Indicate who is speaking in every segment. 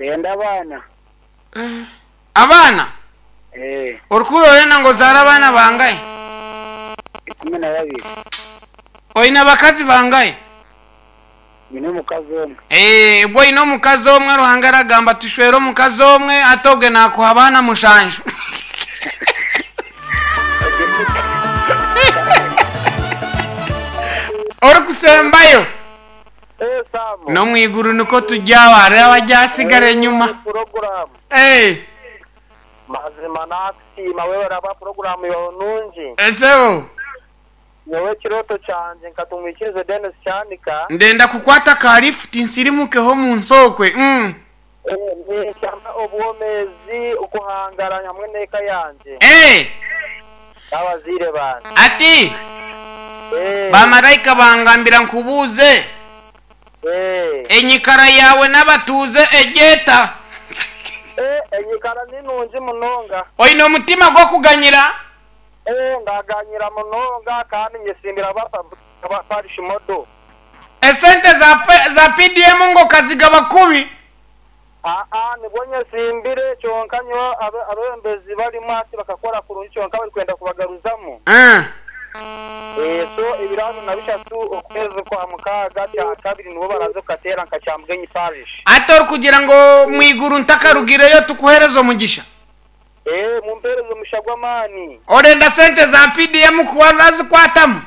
Speaker 1: Ndenda abaana.
Speaker 2: Abaana?
Speaker 1: Ee.
Speaker 2: Orikuhurira orenda ngu ozaare abaana bangahi?
Speaker 1: 12.
Speaker 2: Oine abakazi bangahi?
Speaker 1: Nyine omukazi omwe.
Speaker 2: Ee, obwo oine omukazi omwe, Ruhanga aragamba tushwere omukazi omwe, hati obwe naakuha abaana mushanju. Orikusembayo.
Speaker 3: Eh, Sam.
Speaker 2: N'omu iguru nikwo turi aho, hariho abaryasigara enyima.
Speaker 3: Puroguramu.
Speaker 2: Eh,
Speaker 3: Mazima nakusiima webare ahabwa puroguramu yawe nungi.
Speaker 2: esebo.
Speaker 3: Nyowe ekirooto kyangye nka Tumwikirize Denis Kyanika.
Speaker 2: Ndenda kukwata ka lifuti nsirimukeho omu nsi okwe. Mm.
Speaker 3: Eh, ninshaba obwomeezi okuhangara hamwe n'eka yangye
Speaker 2: Eh,
Speaker 3: n'abazaire bangye.
Speaker 2: ati
Speaker 3: Eh,
Speaker 2: bamaraika bangambira nkubuuze
Speaker 3: eh.
Speaker 2: enyikara yaawe n'abatuuze egyeta.
Speaker 3: Eh, enyikara ni nungi munonga.
Speaker 2: Oine omutima gw'okuganyira?
Speaker 3: Eh, ndaganyira munonga kandi nyesimbira aba parish model.
Speaker 2: Esente za, za PDM ngu okazigaba kubi?
Speaker 3: Aa, nibwo nyesimbire kyonka nyowe abebembezi barimu hati bakakora kurungi kyonka barikwenda kubagaruzamu.
Speaker 2: Eh.
Speaker 3: Eh, so ebiro 23 okwezi kwa mukaaga kyakabiri nibwo baraze kukateera nka Kyamugenyi parish.
Speaker 2: Hati orikugira ngu omwiguru ntakarugireyo tukuhereze omugisha?
Speaker 3: Ee, mumpeereze omugisha gw'amaani.
Speaker 2: Orenda sente za PDM ku warazikwatamu?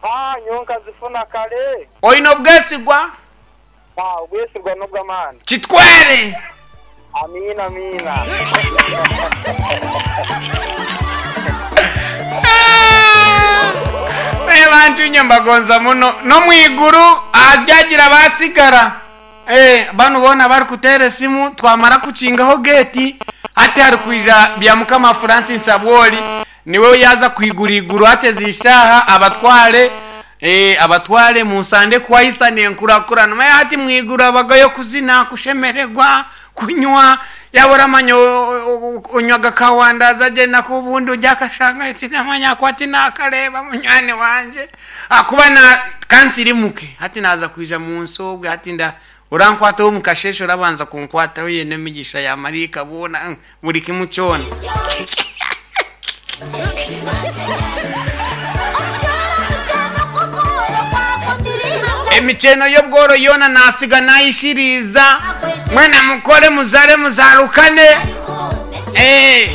Speaker 3: Aa, nyowe nkazifuna kare.
Speaker 2: Oine obwesigwa?
Speaker 3: Aa, obwesigwa n'obw'amaani.
Speaker 2: Kitware!
Speaker 3: Amiina, amiina.
Speaker 2: Ee, bantu inye mbagonza muno. N'omwiguru aharyagira abasigara. Ee, banu boona abarikuteera esimu twamara kukingaho geeti, hati harikwija Byamukama Francis Abwoli niwe yaaza kwigura eiguru hati ezi shaaha abatware ee, abatware munsande kuhaisana enkurakurana. Manya hati mwiguru habagayo kuzina, kushemererwa, kunywa, yaaba oramanya onywaga kawandazi agyenda ku obundi orya akashanga ati namanya ku hati naakareeba munywani wangye ahakuba na ka nsirimuke hati naaza kwija mu nsi obwe hati nda orankwataho omu kasheeshe orabanza kunkwataho oine emigisha ya maraika boona buri kimwe kyona. Emikyeno y'obworo yoona naatsiga naayishiriiza. Mwena mukore muzaare muzaarukane. Eh,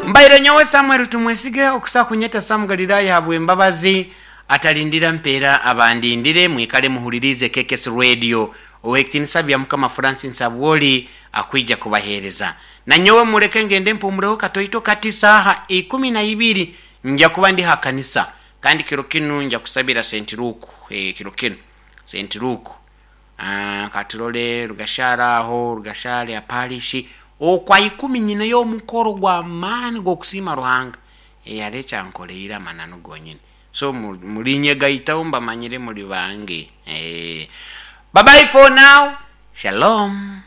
Speaker 2: mbaire nyowe Samuel Tumwesige okusa kunyeta Sam Galilaya ahabw'embabazi atarindira mpeera abandindire mwikare muhuririize KKS Radio Ow'ekitiinisa Byamukama Francis Abwoli akwija kubaheereza. Nanyowe mureke ngende mpumureho katoito kati saaha 12 nja kuba ndi ha kanisa kandi kiro kinu nja kusabira St. Luke eh, kiro kinu St. Luke ah, katurole Rugashare aho Rugashare ya parish okwa ikumi nyineyo omukoro gw'amaani g'okusiima Ruhanga eh, hariho ekyankoreire amananu gonyini so murinyegaitaho mbamanyire muri bange eh. Bye bye for now. Shalom.